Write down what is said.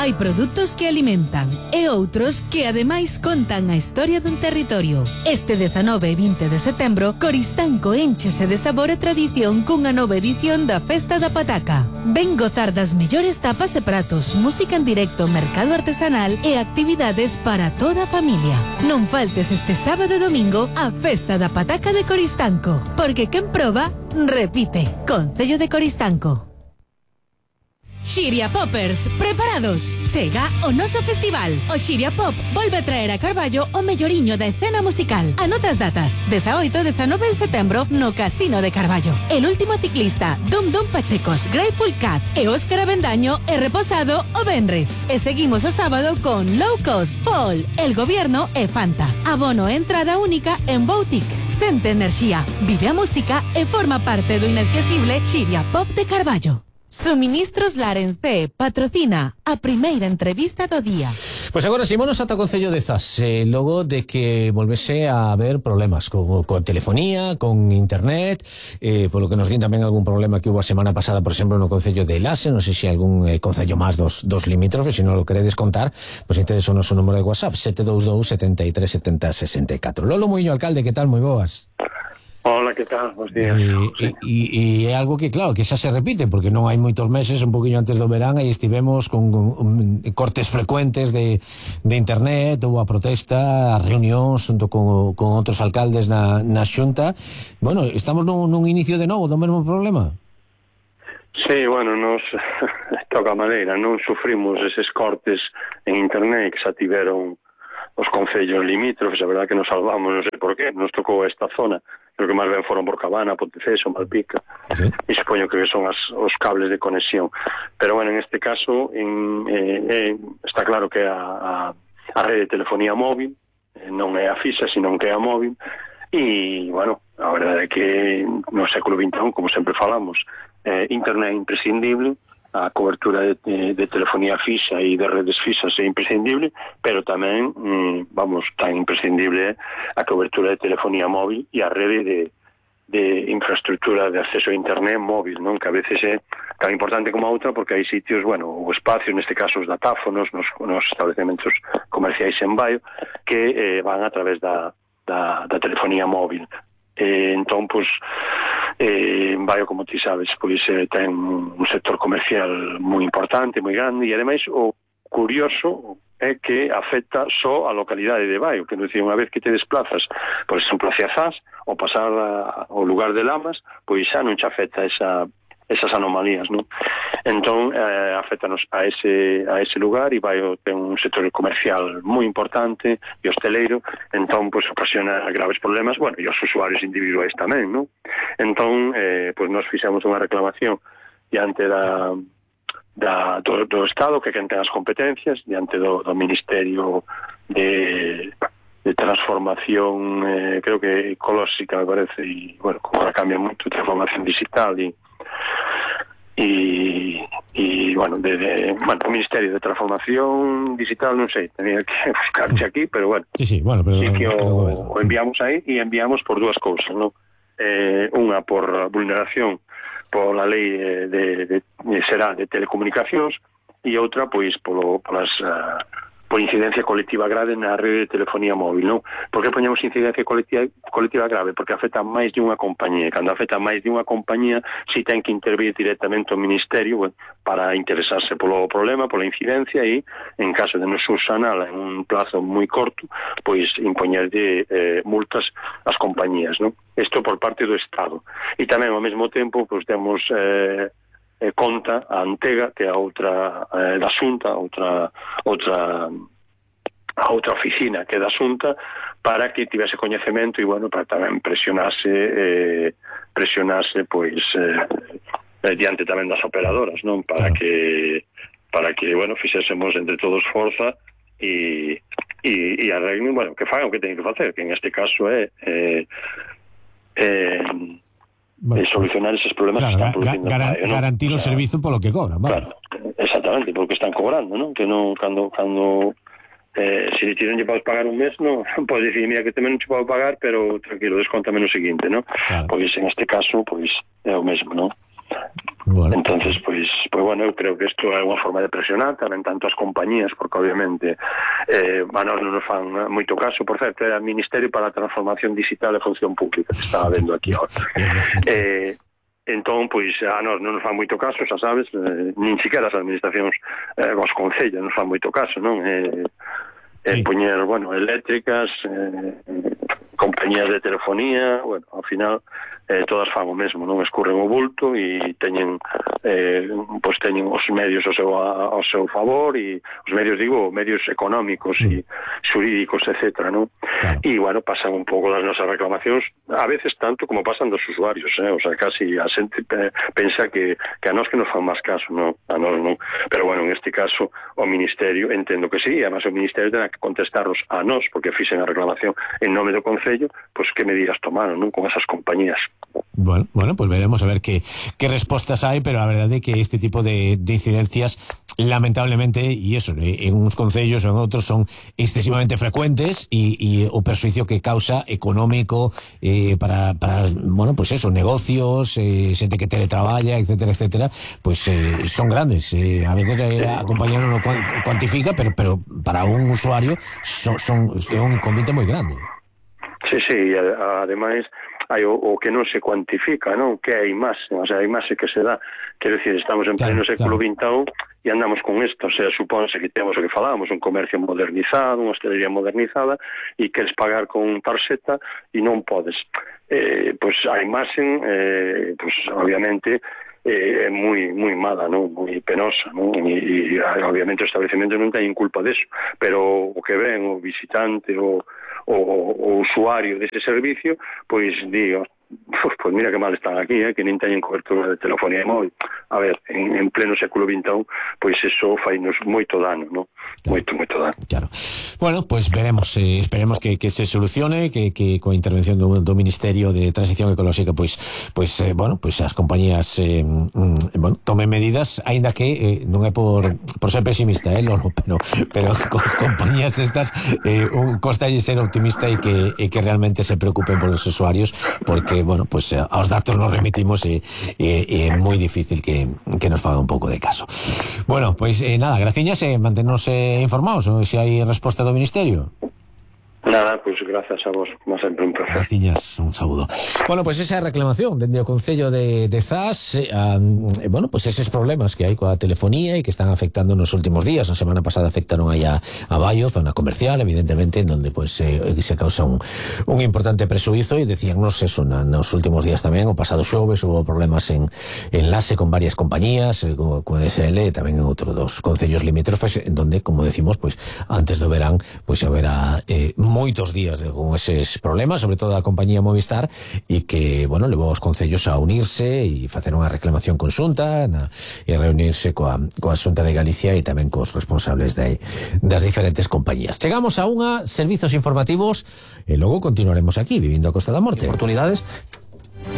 Hai produtos que alimentan e outros que ademais contan a historia dun territorio. Este 19 e 20 de setembro, Coristanco énchese de sabor e tradición cunha nova edición da Festa da Pataca. Ven gozar das mellores tapas e pratos, música en directo, mercado artesanal e actividades para toda a familia. Non faltes este sábado e domingo a Festa da Pataca de Coristanco, porque quen proba, repite. Concello de Coristanco. Xiria Poppers, preparados? Chega o noso festival. O Xiria Pop volve a traer a Carballo o melloriño da escena musical. Anota as datas: 18 e 19 de setembro no Casino de Carballo. El último ciclista, Dum Dum Pachecos, Grateful Cat e Óscar Avendaño e Reposado o venres. E seguimos o sábado con Low Cost, Fall, El Gobierno e Fanta. Abono e entrada única en Boutique. Sente enerxía, vive a música e forma parte do inesquecible Xiria Pop de Carballo. Suministros Larencé patrocina a primeira entrevista do día. Pois agora símonos ata o Concello de Zas, logo de que volvese a haber problemas con telefonía, con internet, polo que nos din tamén algún problema que hubo a semana pasada, por exemplo, no Concello de Lase. Non sei se algún concello máis dos limítrofes, se non o queredes contar, pois entonces o noso número de WhatsApp 722 73 70 64. Lolo Muiño, alcalde, que tal? Moi boas. Hola, que tal? Bos días. E é algo que, claro, que xa se repite, porque non hai moitos meses, un poquinho antes do verán, aí estivemos con cortes frecuentes de internet, houve a protesta, as reunións junto con outros alcaldes na Xunta. Bueno, estamos nun inicio de novo do mesmo problema? Sí, bueno, nos toca a madeira, non sufrimos eses cortes en internet que xa tiveron os concellos limítrofes. A verdade que nos salvamos, non sei por qué, nos tocou esta zona. Creo que máis ben foron por Cabana, Ponteceso, Malpica, ¿sí? E supoño que son os cables de conexión. Pero bueno, en este caso está claro que a rede de telefonía móvil non é a fixa, sino que é a móvil. E, bueno, a verdade é que no século XXI, como sempre falamos, internet é imprescindible, a cobertura de telefonía fixa e de redes fixas é imprescindible, pero tamén, tan imprescindible a cobertura de telefonía móvil e a rede de infraestructura de acceso a internet móvil, non? Que a veces é tan importante como a outra, porque hai sitios, bueno, o espacio, neste caso os datáfonos, nos estabelecementos comerciais en Baio, que van a través da telefonía móvil. Entón, pois, Baio, como ti sabes, pois ten un sector comercial moi importante, moi grande, e ademais o curioso é que afecta só a localidade de Baio, que non dicir, unha vez que te desplazas, por exemplo, hacia Zas, ou pasar ao lugar de Lamas, pois xa non te afecta esas anomalías, non? Entón, afectanos a ese lugar, e Baio ten un sector comercial moi importante e hosteleiro, entón, pois, ocasiona graves problemas, bueno, e os usuarios individuais tamén, non? Entón, pois, nos fixemos unha reclamación diante do Estado, que quen ten as competencias, diante do Ministerio de Transformación, creo que ecolóxica, me parece, e, bueno, como ahora cambia moito, transformación digital e bueno, o Ministerio de Transformación Digital, non sei, tenía que buscarche aquí, pero bueno, sí, bueno, pero sí que o enviamos aí, e enviamos por dúas cousas, non? Unha por vulneración pola lei de telecomunicacións, e outra, pois, por incidencia colectiva grave na rede de telefonía móvil, non? Por que poñemos incidencia colectiva grave? Porque afecta máis de unha compañía. Cando afecta máis de unha compañía, si ten que intervir directamente o Ministerio, bueno, para interesarse polo problema, pola incidencia, e, en caso de non subsanala en un plazo moi corto, pois impoñer de multas ás compañías, non? Isto por parte do Estado. E tamén, ao mesmo tempo, pois temos conta a Antega, que é a outra da Xunta, outra oficina que é da Xunta, para que tivese coñecemento e, bueno, para tamén presionase pois diante tamén das operadoras, non? Para que bueno, fixésemos entre todos forza e arreglen, bueno, que fagan o que teñen que facer, que en este caso é solucionar esos problemas, claro, que están producindo garantir o servizo polo que cobran, vale. Claro, exactamente, porque están cobrando, non? Que non, cando se le tienen que pagar un mes, non podes dicir, mira, que tamén non te podo pagar, pero tranquilo, descontame no seguinte, non? Claro. Pois en este caso, pois é o mesmo, non? Bueno. Entonces, pois bueno, eu creo que isto é unha forma de presionar tamén tanto as compañías, porque obviamente a nós non nos fan moito caso. Por certo, era Ministerio para a Transformación Digital e Función Pública que estaba vendo aquí ahora. Entón, pois, a nós non nos fan moito caso, xa sabes, nin siquiera as administracións, os concellos nos fan moito caso, non? Poñer, bueno, eléctricas, compañías de telefonía, bueno, ao final todas fan o mesmo, non escurren o bulto e teñen pois teñen os medios ao seu favor, e os medios, digo, medios económicos e xurídicos, etcétera, non? Claro. E, bueno, pasan un pouco das nosas reclamacións, a veces tanto como pasan dos usuarios, o sea, casi a xente pensa que a nós que nos fan máis caso, non? A nós non. Pero, bueno, en este caso, o Ministerio, entendo que sí, e además o Ministerio terá que contestarnos a nós, porque fixen a reclamación en nome do Concello, pois que medidas tomaron, non? Con esas compañías. Bueno, pues veremos a ver qué respuestas hay, pero la verdad es que este tipo de incidencias, lamentablemente, y eso, en unos concellos o en otros son excesivamente frecuentes y o perjuicio que causa económico para bueno, pues eso, negocios, gente que teletraballa, etcétera, etcétera, pues son grandes. A veces la compañía no lo cuantifica, pero para un usuario son un inconveniente muy grande. Sí, ademais hai o que non se cuantifica, non? Que é a imaxe, o sea, a imaxe que se dá. Quero dicir, estamos en pleno século XXI e andamos con isto, o sea, supónse que temos o que falábamos, un comercio modernizado, unha hostelería modernizada, e queres pagar con tarxeta e non podes. Pois a imaxe, pois obviamente é moi mala, non? Moi penosa, non? E obviamente o establecemento non ten culpa deso, pero o que ven o visitante, o usuario dese servicio, pois digo, pois mira que mal están aquí, que nen teñen cobertura de telefonía e móvil. A ver, en pleno século XXI, pois eso fainos moito dano, non? Moito dano. Claro. Bueno, pues veremos, esperemos que se solucione, que coa intervención do Ministerio de Transición Ecolóxica, pues as compañías tomen medidas, aínda que non é por ser pesimista, pero cos compañías estas costalle ser optimista e que realmente se preocupen por os usuarios, porque bueno, pues aos datos nos remitimos e é moi difícil que nos faga un pouco de caso. Bueno, pues nada, graciñas, manténnos informados, se hai resposta do Ministerio. Nada, pois grazas a vos, como sempre un placer. Graciñas, un saúdo. Bueno, pues esa reclamación dende o Concello de Zas, bueno, pues eses problemas que hai coa telefonía e que están afectando nos últimos días. Na semana pasada afectaron aí a Baio, zona comercial, evidentemente, en donde pues se causa un importante presuizo, e decíannos eso nos últimos días tamén. O pasado xoves hubo problemas en enlace con varias compañías, con SL, tamén en outro dos concellos limítrofes, en donde, como decimos, pues antes do verán, pues haberá moitos días con eses problemas, sobre todo a compañía Movistar, e que, bueno, levou os concellos a unirse e facer unha reclamación conxunta e reunirse coa Xunta de Galicia e tamén cos responsables das diferentes compañías. Chegamos a servizos informativos e logo continuaremos aquí, vivindo a Costa da Morte. Oportunidades